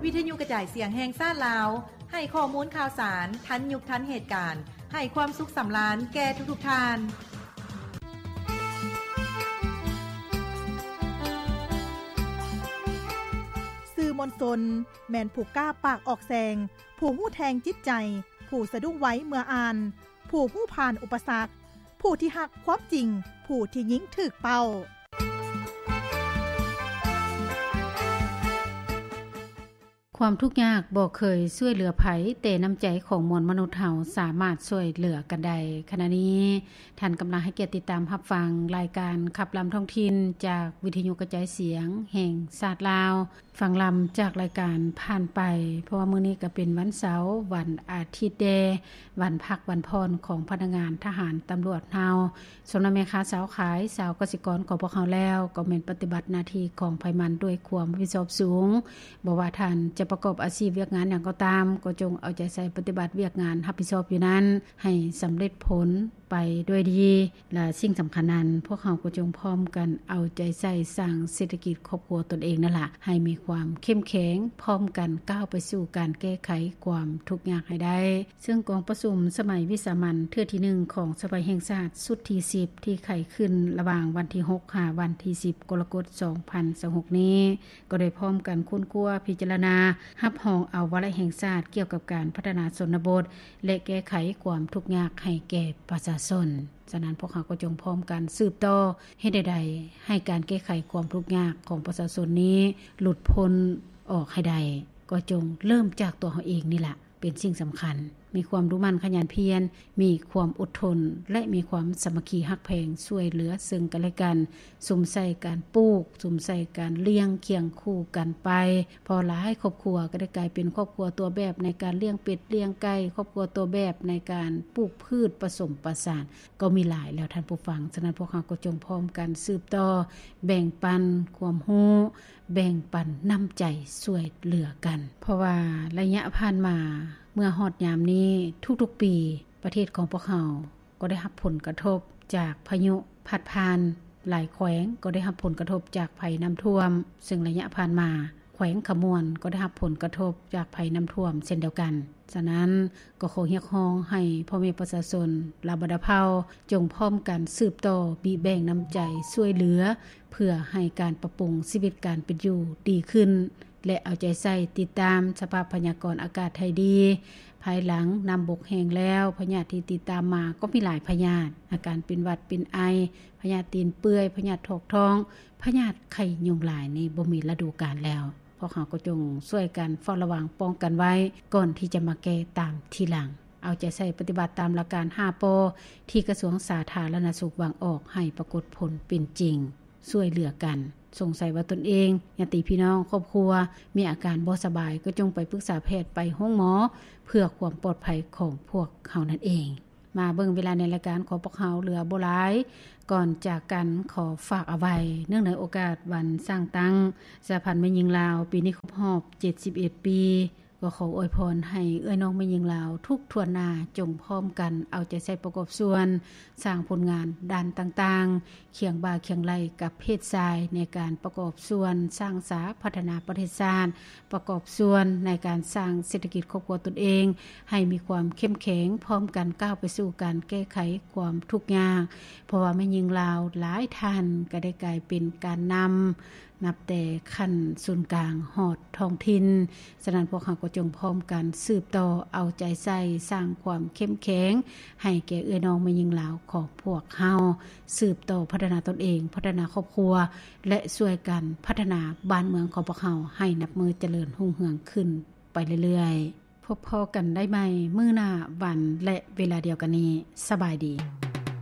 ວິທະຍຸກະຈາຍສຽງແຫ່ງຊາດລາວ ໃຫ້ຂໍ້ມູນຂ່າວສານທັນຍຸກທັນເຫດການ, ໃຫ້ຄວາມສຸກສຳລານແກ່ທຸກໆທ່ານ. ສື່ມວນຊົນ ແມ່ນຜູ້ກ້າປາກອອກແສງ, ຜູ້ຮູ້ແທງຈິດໃຈ, ຜູ້ສະດຸ້ງໄວເມື່ອອ່ານ, ຜູ້ຮູ້ຜ່ານອຸປະສັກ, ຜູ້ທີ່ຮັກຄວາມຈິງ, ຜູ້ທີ່ຍິງຖືກເປົ້າ. ຄວາມທຸກຍາກບໍ່ເຄີຍຊ່ວຍເຫຼືອໃຜ, ແຕ່ນ້ຳໃຈຂອງມວນມະນຸດເຮົາສາມາດຊ່ວຍເຫຼືອກັນໄດ້. ຂະນະນີ້ ທ່ານກຳລັງໃຫ້ກຽດຕິດຕາມຮັບຟັງລາຍການຂັບລຳທ້ອງຖິ່ນ ຈາກວິທະຍຸກະຈາຍສຽງແຫ່ງຊາດລາວ. ຟັງລຳຈາກລາຍການຜ່ານໄປ, ເພາະວ່າມື້ນີ້ກໍເປັນວັນເສົາ, ວັນອາທິດແດ່, ວັນພັກວັນຜ່ອນຂອງພະນັກງານທະຫານຕຳຫຼວດເຮົາ. ສຳລັບແມ່ຄ້າຊາວຂາຍ, ຊາວກະສິກອນຂອງພວກເຮົາແລ້ວ ກໍແມ່ນປະຕິບັດໜ້າທີ່ຂອງໃຜມັນດ້ວຍຄວາມຮັບຜິດຊອບສູງ. ບໍ່ວ່າທ່ານຈະປະກອບອາຊີບວຽກງານຫຍັງກໍຕາມ, ກໍຈົ່ງເອົາໃຈໃສ່ປະຕິບັດວຽກງານຮັບຜິດຊອບຢູ່ນັ້ນ ໃຫ້ສຳເລັດຜົນໄປດ້ວຍດີ. ແລະ ສິ່ງສຳຄັນນັ້ນ, ພວກເຮົາກໍຈົ່ງພ້ອມກັນເອົາໃຈໃສ່ສ້າງເສດຖະກິດຄອບຄົວຕົນເອງນັ້ນລະ ໃຫ້ມີຄວາມເຂັ້ມແຂງ, ພ້ອມກັນກ້າວໄປສູ່ການແກ້ໄຂຄວາມທຸກຍາກໃຫ້ໄດ້. ເຊິ່ງກອງປະຊຸມສະໄໝວິສາມັນເທື່ອທີໜຶ່ງຂອງສະພາແຫ່ງຊາດຊຸດທີສິບ ທີ່ໄຂຂຶ້ນລະຫວ່າງວັນທີຫົກຫາວັນທີສິບ ກໍລະກົດ ສອງພັນຊາວຫົກນີ້ ກໍໄດ້ພ້ອມກັນຄົ້ນຄວ້າ, ພິຈາລະນາ, ຮັບຮອງເອົາວາລະແຫ່ງຊາດກ່ຽວກັບການພັດທະນາຊົນນະບົດ ແລະ ແກ້ໄຂຄວາມທຸກຍາກໃຫ້ແກ່ປະຊາຊົນ. ສະນັ້ນ, ພວກເຮົາກໍຈົ່ງພ້ອມກັນສືບຕໍ່ ເຮັດແນວໃດໃຫ້ການແກ້ໄຂຄວາມທຸກຍາກຂອງປະຊາຊົນນີ້ຫຼຸດພົ້ນອອກໃຫ້ໄດ້, ກໍຈົ່ງເລີ່ມຈາກຕົວເຮົາເອງນີ້ລະ ເປັນສິ່ງສຳຄັນ. ມີຄວາມດຸໝັ່ນຂະຫຍັນພຽນ, ມີຄວາມອົດທົນ ແລະ ມີຄວາມສາມັກຄີຮັກແພງຊ່ວຍເຫຼືອເຊິ່ງກັນແລະກັນ, ສຸມໃສ່ການປູກ, ສຸມໃສ່ການລ້ຽງຄຽງຄູ່ກັນໄປ. ເພາະຫຼາຍຄອບຄົວກໍໄດ້ກາຍເປັນຄອບຄົວຕົວແບບໃນການລ້ຽງເປັດລ້ຽງໄກ່, ຄອບຄົວຕົວແບບໃນການປູກພືດປະສົມປະສານ ກໍມີຫຼາຍແລ້ວທ່ານຜູ້ຟັງ. ສະນັ້ນ, ພວກເຮົາກໍຈົ່ງພ້ອມກັນສືບຕໍ່ ແບ່ງປັນຄວາມຮູ້, ແບ່ງປັນນ້ຳໃຈຊ່ວຍເຫຼືອກັນ. ເພາະວ່າໄລຍະຜ່ານມາ ເມື່ອຮອດຍາມນີ້, ທຸກໆປີ ປະເທດຂອງພວກເຮົາກໍໄດ້ຮັບຜົນກະທົບຈາກພາຍຸພັດຜ່ານ, ຫຼາຍແຂວງກໍໄດ້ຮັບຜົນກະທົບຈາກໄພນ້ຳຖ້ວມ, ເຊິ່ງໄລຍະຜ່ານມາ ແຂວງຂະມວນກໍໄດ້ຮັບຜົນກະທົບຈາກໄພນ້ຳຖ້ວມເຊັ່ນດຽວກັນ. ສະນັ້ນ, ກໍຂໍຮຽກຮ້ອງໃຫ້ພໍ່ແມ່ປະຊາຊົນລາວບັນດາເຜົ່າ ຈົ່ງພ້ອມກັນສືບຕໍ່ບີແບ່ງນ້ຳໃຈຊ່ວຍເຫຼືອ ເພື່ອໃຫ້ການປັບປຸງຊີວິດການເປັນຢູ່ດີຂຶ້ນ ແລະ ເອົາໃຈໃສ່ຕິດຕາມສະພາບພະຍາກອນອາກາດໃຫ້ດີ. ພາຍຫຼັງນ້ຳບົກແຫ້ງແລ້ວ, ພະຍາດທີ່ຕິດຕາມມາກໍມີຫຼາຍພະຍາດ, ອາການເປັນຫວັດເປັນໄອ, ພະຍາດຕີນເປື່ອຍ, ພະຍາດຖອກທ້ອງ, ພະຍາດໄຂ້ຍຸງລາຍນີ້ບໍ່ມີລະດູການແລ້ວ. ພວກເຮົາກໍຈົ່ງຊ່ວຍກັນເຝົ້າລະວັງປ້ອງກັນໄວ້ ກ່ອນທີ່ຈະມາແກ້ຕາມທີຫຼັງ. ເອົາໃຈໃສ່ປະຕິບັດຕາມຫຼັກການຫ້າ ປ ທີ່ກະຊວງສາທາລະນະສຸກວາງອອກໃຫ້ປາກົດຜົນເປັນຈິງ. ຊ່ວຍເຫຼືອກັນ. ສົງໄສວ່າຕົນເອງ, ຍາດຕິພີ່ນ້ອງ, ຄອບຄົວ ມີອາການບໍ່ສະບາຍ, ກໍຈົ່ງໄປປຶກສາແພດ, ໄປໂຮງໝໍ ເພື່ອຄວາມປອດໄພຂອງພວກເຮົານັ້ນເອງ. ມາເບິ່ງເວລາໃນລາຍການຂອງພວກເຮົາເຫຼືອບໍ່ຫຼາຍ. ກ່ອນຈາກກັນ, ຂໍຝາກເອົາໄວ້, ເນື່ອງໃນໂອກາດວັນສ້າງຕັ້ງສະຫະພັນແມ່ຍິງລາວ ປີນີ້ຄົບຮອບເຈັດສິບເອັດປີ, ກໍຂໍອວຍພອນໃຫ້ເອື້ອຍນ້ອງແມ່ຍິງລາວທຸກຖ້ວນໜ້າ ຈົ່ງພ້ອມກັນເອົາໃຈໃສ່ປະກອບສ່ວນ ສ້າງຜົນງານດ້ານຕ່າງໆ, ຄຽງບ່າຄຽງໄຫຼ່ກັບເພດຊາຍ ໃນການປະກອບສ່ວນສ້າງສາພັດທະນາປະເທດຊາດ, ປະກອບສ່ວນໃນການສ້າງເສດຖະກິດຄອບຄົວຕົນເອງ ໃຫ້ມີຄວາມເຂັ້ມແຂງ, ພ້ອມກັນກ້າວໄປສູ່ການແກ້ໄຂຄວາມທຸກຍາກ, ເພາະວ່າແມ່ຍິງລາວຫຼາຍທ່ານກໍໄດ້ກາຍເປັນການນຳ ນັບແຕ່ຂັ້ນສູນກາງຮອດທ້ອງຖິ່ນ. ສະນັ້ນ, ພວກເຮົາກໍຈົ່ງພ້ອມກັນສືບຕໍ່ເອົາໃຈໃສ່ ສ້າງຄວາມເຂັ້ມແຂງໃຫ້ແກ່ເອື້ອຍນ້ອງແມ່ຍິງລາວຂອງພວກເຮົາ, ສືບຕໍ່ພັດທະນາຕົນເອງ, ພັດທະນາຄອບຄົວ ແລະ ຊ່ວຍກັນພັດທະນາບ້ານເມືອງຂອງພວກເຮົາໃຫ້ນັບມື້ຈະເລີນຮຸ່ງເຮືອງຂຶ້ນໄປເລື້ອຍໆ. ພົບພໍ້ກັນໄດ້ໃໝ່ມື້ໜ້າວັນ ແລະ ເວລາດຽວກັນນີ້. ສະບາຍດີ.